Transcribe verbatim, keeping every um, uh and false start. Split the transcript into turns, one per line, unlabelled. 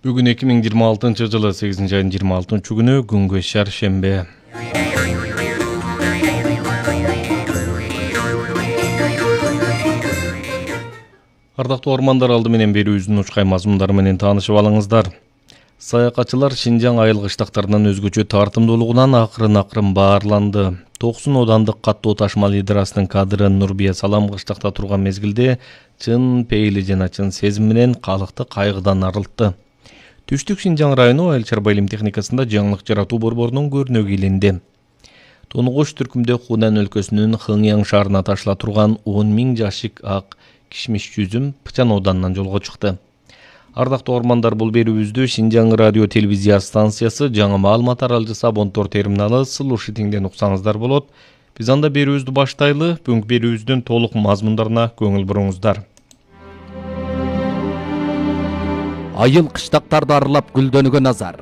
Бүгүн эки миң жыйырма алтынчы жылы сегизинчи айдын жыйырма алтынчы күнү күнгө шаршембе. Ардактуу ормандар, алды менен берүүбүздүн учкай мазмундары менен таанышып алыңыздар. Саякатчылар Шинжаң айыл кыштактарынан өзгөчө тартымдуулугунан акырын-акырын баарланды. Токсон одандык каттуу ташмал идрасынын кадыры Нурбия Салам кыштакта турган мезгилде чын пейили жана чын сезим менен калкты кайгыдан арылтты. Түштүк Шинжаң району айыл чарба илим техникасында жаңылык жаратуу борборунун көрүнөгү илинди. Тонугуш түркүмдө Хунан өлкөсүнүн Хыңяң шаарына ташыла турган он миң жашык ак кишмиш жүзүм Пычан ауданынан жолго чыкты. Ардактуу ормандар, бул берүүбүздү Шинжаң радио телевизия станциясы жаңы маалымат аралжысы абонтор терминалы Слушатиңден уксаңыздар болот. Биз анда берүүбүздү баштайлы. Бүгүнкү берүүбүздүн толук мазмундарына көңүл буруңуздар.
Айыл кыштактарды аралап гүлдөнгөн Назар.